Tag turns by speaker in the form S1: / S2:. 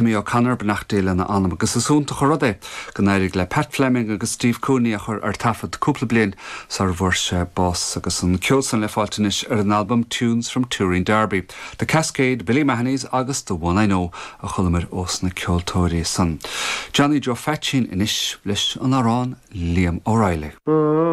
S1: Tommy O'Connor, beannacht Dé lena anam, agus is iontach an rud é go n-éirigh le Pat Fleming agus Steve Cooney é a chur ar taifead cúpla bliain sara bhfuair sé bás agus an ceol san le fáilt anois ar an albam Tunes from Tooreen Derby, The Cascade, Billy Mahoney's agus The One I Know a chualamar ós na ceoltóirí san. Johnny Joe Pheaitsín anois leis an amhrán Liam O'Reilly.